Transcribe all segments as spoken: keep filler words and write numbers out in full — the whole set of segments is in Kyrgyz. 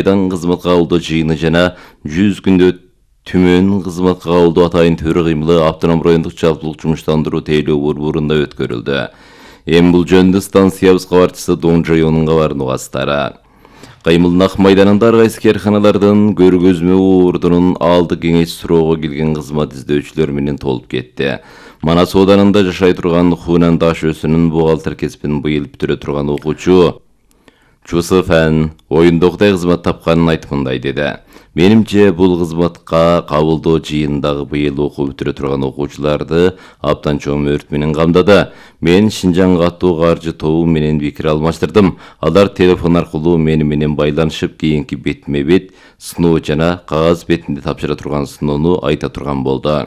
Айдан кызматка кабылдоо жыйыны жана жүз күндө түмөн кызматка кабылдоо атайын төрө кыймылы автоном райондук жалпылык жумуштандыруу тейлөө борборунда өткөрүлдү. Эми бул жөнүндө станциябыз кабарчысы Донжайонун кабарын угасыздар. Кыймылдын ак майданында ар кайсы кээрканалардын көргөзмө ордунун алды кеңеш суроого келген кызмат издөөчүлөр менен толуп кетти. Манас Оданында жашай турган Хунан Даш өсүнүн бухгалтер кесибин быйыл бүтүрө турган окуучу Чусу Фэн оюндогудай кызмат тапканын айтып мындай деди. Менимче бул кызматка кабылдоо жыйындагы быйыл окуу бүтүрө турган окуучуларды абдан чоң өрт менен камдады. Мен Шинжаң катуу каржы тобу менен пикир алмаштырдым. Алар телефон аркылуу мени менен байланышып, кийинки бетме бет сыноо жана кагаз бетинде тапшыра турган сыноону айта турган болду.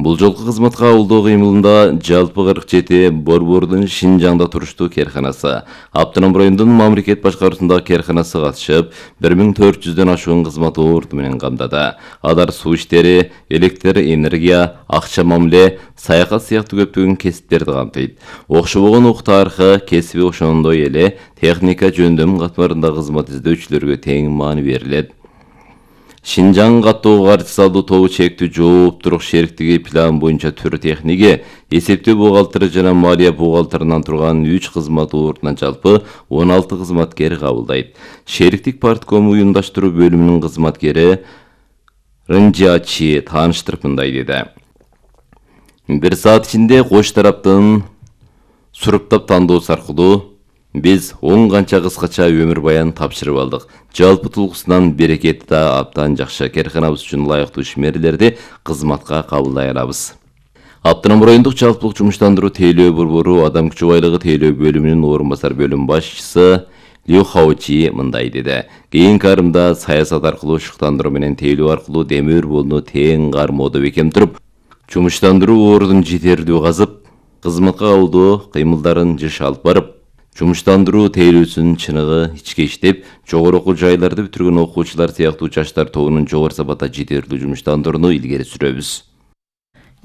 Бул жолку кызматка кабылдоо кыймылында жалпы кырк жети борбордун Шинжаңда туруштуу кээрканасы, автоном райондун мамлекет башкаруусундагы кээрканасы катышып, бир миң төрт жүздөн ашуун кызмат орду менен камдады. Алар суу иштери, электр энергия, акча мамиле, саякат сыяктуу көптөгөн кесиптерди камтыйт. Окшобогон ук тарыхы, кесиби ошондой эле техника жөндөм катмарында кызмат издөөчүлөргө тең маани берилет. Шинжаң катуу каржы салуу тобу чектүү жооптурук шериктиги план боюнча түрү техниги, эсептөө бухгалтери жана малия бухгалтеринен турган үч кызмат ордунан жалпы он алты кызматкер кабылдайт. Шериктик партком уюмдаштыруу бөлүмүнүн кызматкери Рынжачи тааныштырып мындай деди. Бир саат ичинде кош тараптын суруптап тандоосу аркылуу биз он канча кыскача өмүр баян тапшырып алдык. Жалпы тулгусунан берекети да абдан жакшы. Кээрканабыз үчүн лайыктуу ишмерлерди кызматка кабылдай алабыз. Автоном райондук жалпылык жумуштандыруу тейлөө борбору адам күчү байлыгы тейлөө бөлүмүнүн орун басар бөлүм башчысы Лю Хаочи мындай деди. Кийинки арымда саясат аркылуу шыктандыруу менен тейлөө аркылуу демир болуну тең кармоодо бекем туруп, жумуштандыруу ордун жетерлүү казып, кызматка кабылдоо кыймылдарын жыш алып барып, жумуштандыруу тейлөөсүнүн чыныгы ичке иштеп, жогору окуу жайларды бүтүргөн окуучулар сыяктуу жаштар тобунун жогору сапатта жетерлүү жумуштандырууну илгери сүрөбүз.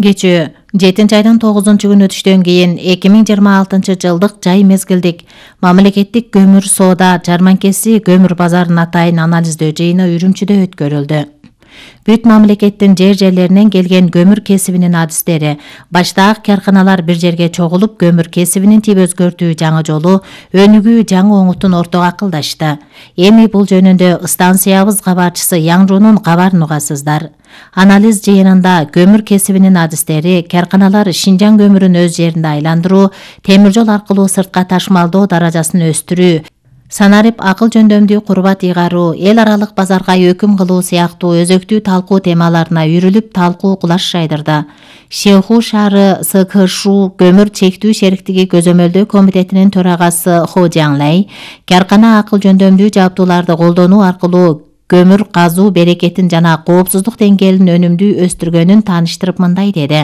Кечээ жетинчи айдын тогузунчу күнү түштөн кийин эки миң жыйырма алтынчы жылдык жай мезгилдик мамлекеттик көмүр соода жарманкеси көмүр базарын атайын анализдөө жыйыны Үрүмчүдө өткөрүлдү. Бүт мамлекеттин жер жерлеринен келген көмүр кесибинин адистери, баштагы каарканалар бир жерге чогулуп, көмүр кесибинин тип өзгөртүү жаңы жолу, өнүгүү жаңы оңутун ортого акылдашты. Эми бул жөнүндө станциябыз кабарчысы Яңжунун кабарын угасыздар. Анализ жыйынында көмүр кесибинин адистери каарканалар Шинжаң көмүрүн өз жеринде айландыруу, темир жол аркылуу сыртка ташмалдоо даражасын өстүрүү, санарип акыл жөндөмдүү курбат ыйгаруу, эл аралык базарга өкүм кылуу сыяктуу өзөктүү талкуу темаларына үйрүлүп талкуу кулаш жайдырды. Шэху шаары С К Ш көмүр чектүү шериктиги көзөмөлдөө комитетинин төрагасы Хо Жаңлай кааркана акыл жөндөмдүү жабдууларды колдонуу аркылуу көмүр казуу берекетин жана коопсуздук деңгээлин өнүмдүү өстүргөнүн тааныштырып мындай деди.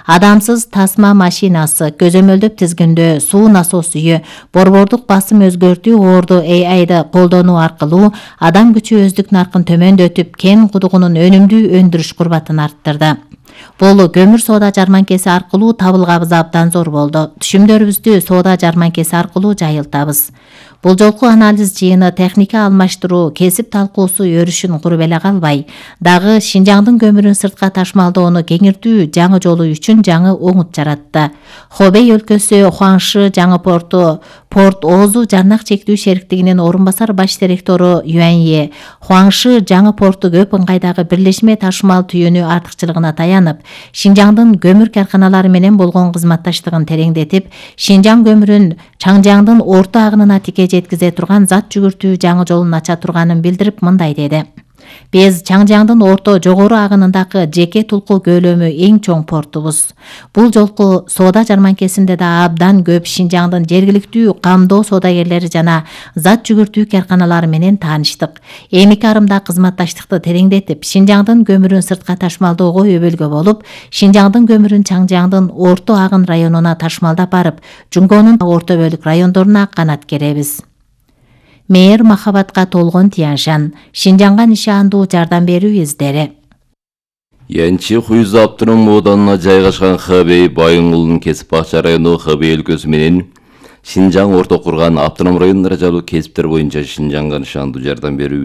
Адамсыз тасма машинасы, көзөмөлдөп тизгиндөө, суу насос үйү, борбордук басым өзгөртүү орду A I-ды колдонуу аркылуу адам күчү өздүк наркын төмөндөтүп, кен кудугунун өнүмдүү өндүрүш курбатын арттырды. Бул көмүр соода жарманкеси аркылуу табылгабыз абдан зор болду. Түшүмдөрүбүздү соода жарманкеси аркылуу жайылтабыз. Бул жолку анализ жыйыны техника алмаштыруу, кесип талкуусу өрүшүн куруп эле калбай, дагы Шинжаңдын көмүрүн сыртка ташмалдоону кеңиртүү жаңы жолу үчүн жаңы оңут жаратты. Хобей өлкөсү Хуаңшы жаңы порту, Порт Озу жарнак чектүү шериктигинин орун басар баш директору Юанье, Хуаңшы жаңы порту көп ыңгайдагы бирлешме ташмал түйүнү артыкчылыгына таянып, Шинжаңдын көмүр каарканалары менен болгон кызматташтыгын тереңдетип, Шинжаң көмүрүн Чаңжаңдын орто агынына тике жеткизе турган зат жүгүртүү жаңы жолун ача турганын билдирип мындай деди. Биз Чаңжаңдын орто жогору агынындагы жеке тулку көлөмү эң чоң портубуз. Бул жолку соода жарманкесинде да абдан көп Шинжаңдын жергиликтүү камдоо соодагерлери жана зат жүгүртүү каарканалары менен тааныштык. Эмики арымда кызматташтыкты тереңдетип, Шинжаңдын көмүрүн сыртка ташмалdoого өбөлгө болуп, Шинжаңдын көмүрүн Чаңжаңдын орто агын районуна ташмалдап барып, Жунгонун орто бөлүк райондоруна канат керебиз. Мээр махабатка толгон Тяншан, Шинжаңга нишандуу жардам берүү издери. Янчи Хуйза автоном оданына жайгашкан Хэбэй Байыңулунун кесип бакча району Хэбэй өлкөсү менен Шинжаң орто курган автоном район даражалуу кесиптер боюнча Шинжаңга нышандуу жардам берүү